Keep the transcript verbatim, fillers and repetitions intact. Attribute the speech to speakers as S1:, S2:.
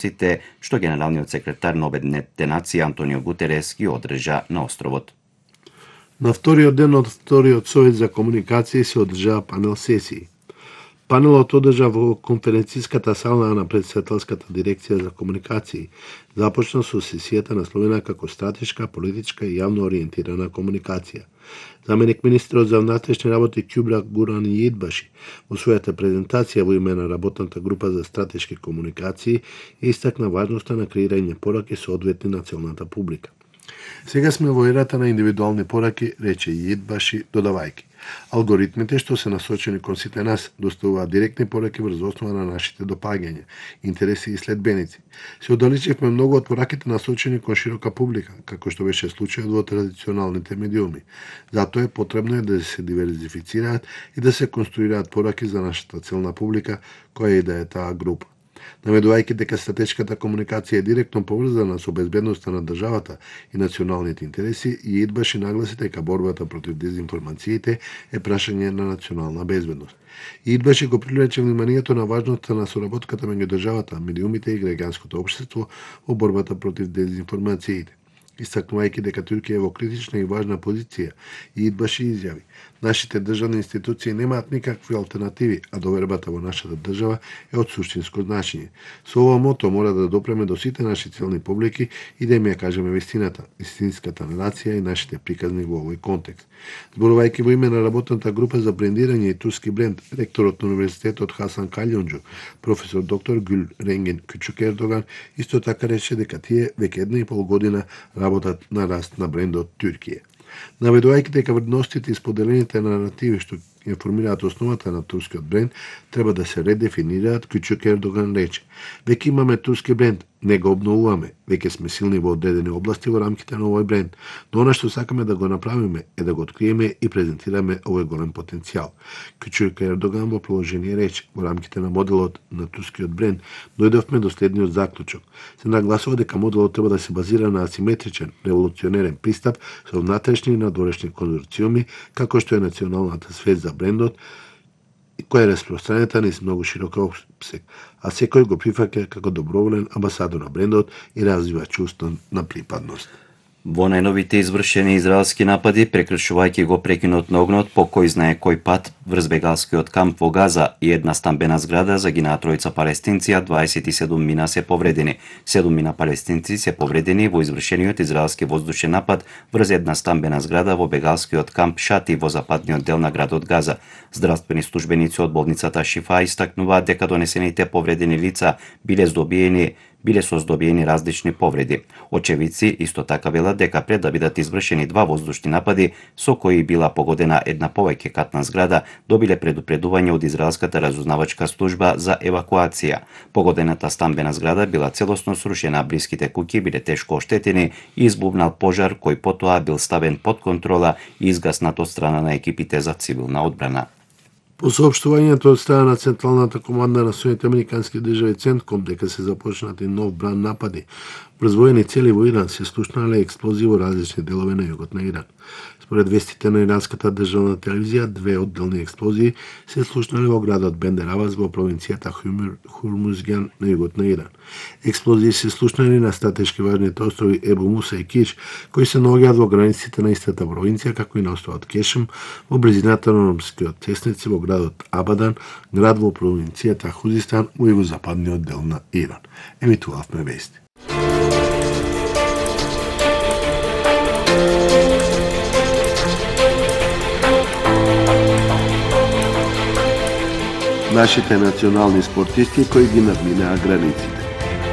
S1: Сите што генералниот секретар на Обединетите нации Антонио Гутерес ги одржа на островот.
S2: На вториот ден од вториот совет за комуникации се одржаа панел сесии. Панелот одржа во конференциската сала на председателската дирекција за комуникации. Започна со сесијата насловена како стратешка, политичка и јавно ориентирана комуникација. Заменик министерот за внатрешни работи Кјубра Гуран Јидбаши во својата презентација во име на работната група за стратешки комуникации истакна важноста на креирање пораки соодветни на целната публика. Сега сме во ерата на индивидуални пораки, рече Јидбаши, додавајќи. Алгоритмите што се насочени кон сите нас доставуваат директни пораки врз основа на нашите допаѓања, интереси и следбеници. Се оддалечивме многу од пораките насочени кон широка публика, како што беше случајот во традиционалните медиуми. Затоа е потребно е да се диверзифицираат и да се конструираат пораки за нашата целна публика, која и да е таа група. Наведувајќи дека стратешката комуникација е директно поврзана со безбедноста на државата и националните интереси, Јидбаши нагласи дека борбата против дезинформациите е прашање на национална безбедност. Јидбаши го привлече вниманието на важноста на соработката меѓу државата, медиумите и граѓанското општество во борбата против дезинформациите. Истакнувајќи дека Туркија е во критична и важна позиција, Јидбаши изјави: нашите државни институции немаат никакви алтернативи, а довербата во нашата држава е од суштинско значење. Со ова мото мора да допреме до сите наши целни публики и да им ја кажеме вистината, истинската нарација и нашите приказни во овој контекст. Зборувајќи во име на работната група за брендирање и турски бренд, ректорот на универзитетот Хасан Калјонџу, професор доктор Гюл Ренген Кючук Ердоган, исто така рече дека тие веќе една и пол година работат на раст на брендот Туркија. Наведувајќи дека вредностите и споделените наративи што ја формираат основата на турскиот бренд треба да се редефинираат, Кючук Ердоган рече: веќе имаме турски бренд, не го обновуваме, веќе сме силни во одредени области во рамките на овој бренд, но она што сакаме да го направиме е да го откриеме и презентираме овој голем потенцијал. Кючук Ердоган во продолжение рече: во рамките на моделот на турскиот бренд дојдовме до следниот заклучок. Се нагласува дека моделот треба да се базира на асиметричен, револуционерен пристап со внатрешни и надворешни конзорциуми, како што е националната свест за брендот, која е распространета низ многу широк опсег, а секој го прифаќа како доброволен амбасадор на брендот и развива чувство на припадност.
S1: Во најновите извршени израелски напади, прекршувајќи го прекинот на огнот по кој знае кој пат врз бегалскиот камп во Газа и една стамбена зграда, загинаа тројца палестинци, а дваесет и седум мина се повредени. седум мина палестинци се повредени во извршениот израелски воздушен напад врз една стамбена зграда во бегалскиот камп Шати во западниот дел на градот Газа. Здравствени службеници од болницата Шифа истакнуваат дека донесените повредени лица биле здобиени биле со здобиени различни повреди. Очевидци исто така велат дека пред да бидат извршени два воздушни напади со кои била погодена една повеќе катна зграда, добиле предупредување од израелската разузнавачка служба за евакуација. Погодената стамбена зграда била целосно срушена, блиските куќи биле тешко оштетени и избувнал пожар кој потоа бил ставен под контрола и изгаснат од страна на екипите за цивилна одбрана.
S2: По соопштувањето од страна на Централната команда на Соединетите американски држави Центком дека се започнати нов бран напади врз воени цели во Иран, се слушнале експлозии во различни делови на југот на Иран. Според вестите на иранската државна телевизија, две одделни експлозии се слушнале во градот Бендер Абас во провинцијата Хурмузган на југот на Иран. Експлозии се слушнали на стратешки важните острови Ебу Муса и Киш, кои се наоѓаат во границите на истата провинција, како и на островот Кешм, во близината на ромскиот тесници во градот Абадан, град во провинцијата Хузистан во југозападниот дел на Иран. Емитувавме вести. Нашите национални спортисти кои ги надминаа границите.